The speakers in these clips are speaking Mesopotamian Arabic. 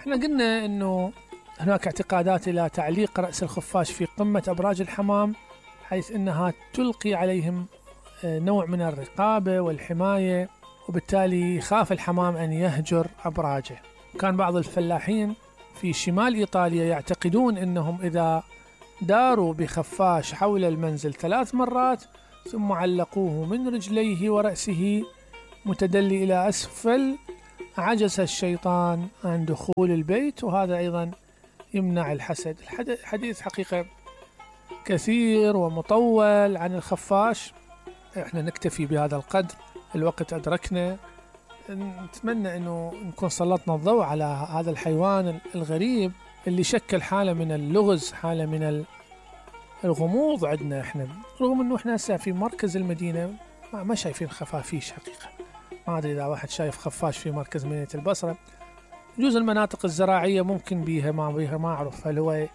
احنا قلنا انه هناك اعتقادات الى تعليق رأس الخفاش في قمة ابراج الحمام، حيث انها تلقي عليهم نوع من الرقابة والحماية، وبالتالي يخاف الحمام ان يهجر ابراجه. كان بعض الفلاحين في شمال ايطاليا يعتقدون انهم اذا داروا بخفاش حول المنزل 3 مرات ثم علقوه من رجليه ورأسه متدلي إلى أسفل، عجز الشيطان عن دخول البيت، وهذا أيضا يمنع الحسد. الحديث حقيقة كثير ومطول عن الخفاش، احنا نكتفي بهذا القدر، الوقت أدركنا. نتمنى أنه نكون سلطنا الضوء على هذا الحيوان الغريب اللي شكل حالة من اللغز، حالة من الغموض عندنا احنا، رغم انه احنا هسه في مركز المدينة ما شايفين خفافيش حقيقة. ما ادري اذا واحد شايف خفاش في مركز مدينة البصرة، يجوز المناطق الزراعية ممكن بيها ما اعرف هل هو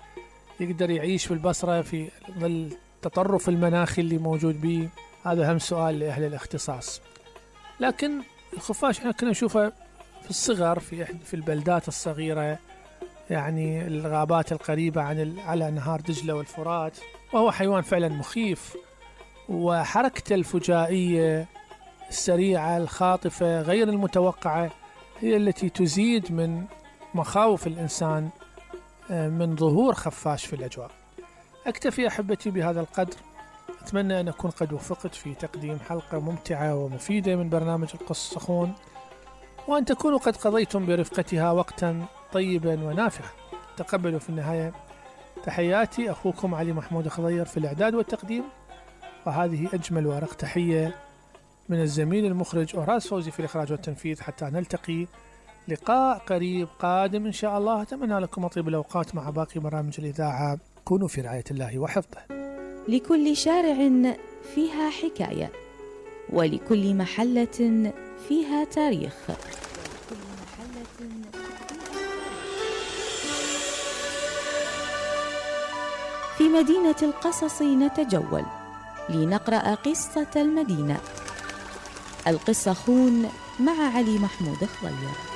يقدر يعيش في البصرة في ظل التطرف المناخي اللي موجود به، هذا هم سؤال لأهل الاختصاص. لكن الخفاش احنا كنا نشوفه في الصغر في البلدات الصغيرة، يعني الغابات القريبة على نهار دجلة والفرات، وهو حيوان فعلا مخيف، وحركته الفجائية السريعة الخاطفة غير المتوقعة هي التي تزيد من مخاوف الإنسان من ظهور خفاش في الأجواء. أكتفي أحبتي بهذا القدر، أتمنى أن أكون قد وفقت في تقديم حلقة ممتعة ومفيدة من برنامج القص الصخون، وأن تكونوا قد قضيتم برفقتها وقتا طيبا ونافعا. تقبلوا في النهاية تحياتي، أخوكم علي محمود خضير في الإعداد والتقديم، وهذه أجمل وأرق تحية من الزميل المخرج أوراس فوزي في الإخراج والتنفيذ. حتى نلتقي لقاء قريب قادم إن شاء الله، أتمنى لكم طيب الأوقات مع باقي برامج الإذاعة. كونوا في رعاية الله وحفظه. لكل شارع فيها حكاية، ولكل محلة فيها تاريخ. في مدينة القصص نتجول لنقرأ قصة المدينة. القصة خون مع علي محمود خضير.